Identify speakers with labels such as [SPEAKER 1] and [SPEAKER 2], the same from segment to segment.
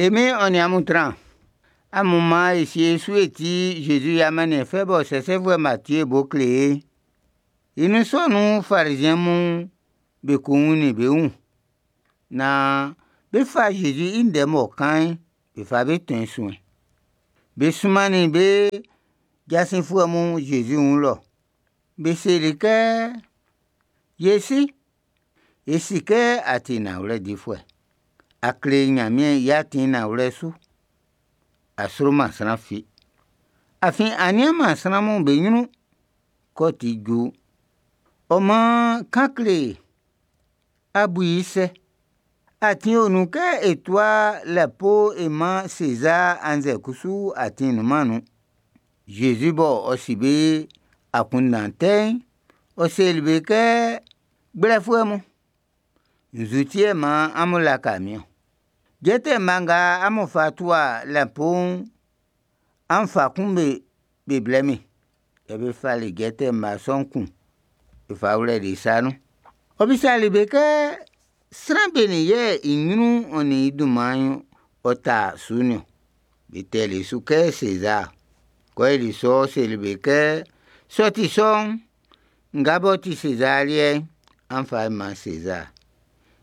[SPEAKER 1] E Min'n ɔ nin amun tran. Amun man e sie e su e tie Jésus i amanniɛn fɛ bɔ Sɛsɛfuɛ Matie bo kle ye'n. I nun sɔ nun'n, Fariziɛn mun be ko wunnin be wun, naan bé fá Zezi i ndɛ m'ɔ kan'n, be fa be tɔn i suɛn. Be sunmannin be jasinfuɛ mun Zezi wun lɔ. Be seli kɛ: “Ye si, e si kɛ a ti nanwlɛ difuɛ. A kle Ɲanmiɛn i atin'n nanwlɛ su. A sroman sran fi. Afin a nianman sran'm be ɲrun kɛ ɔ ti ju'n. Ɔ maan kan kle e, a bu i sɛ? Atin o nun kɛ e tua lapo e man Sezaa annzɛ kusu atin nunman nun?” Zezi m'ɔ si be akunndan tɛ'n, ɔ seli be kɛ: “Gblɛfuɛ mun, nzu ti yɛ maan amun laka min ɔn? Jɛtɛ mma nga amun fa tua lapo'n, an fa kun be blɛ min.” Yɛ be fali jɛtɛ mma sɔ'n kun be fa wlɛli i sa nun. Ɔ usali be kɛ: “Sran benin yɛ i ɲrun'n ɔ nin i dunman'n ɔ ta su'n niɔn?” Be tɛli i su kɛ: “Sezaa.” Kɛ ɔ yoli sɔ'n, ɔ seli be kɛ: “Sɛ ɔ ti sɔ'n, nga b'ɔ ti Sezar liɛ'n, an fa man Sezar.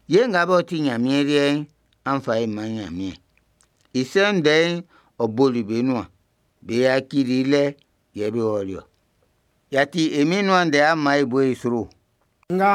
[SPEAKER 1] Yɛ nga b'ɔ ti Nyanmiɛn liɛ'n, an fa man Nyanmiɛn.” I sɔ ndɛ'n, ɔ boli be nuan. Be yacili i lɛ, yɛ be ɔli ɔ. Y'a ti e Min'n i nuan ndɛ, an man e bo i sro.
[SPEAKER 2] Nga.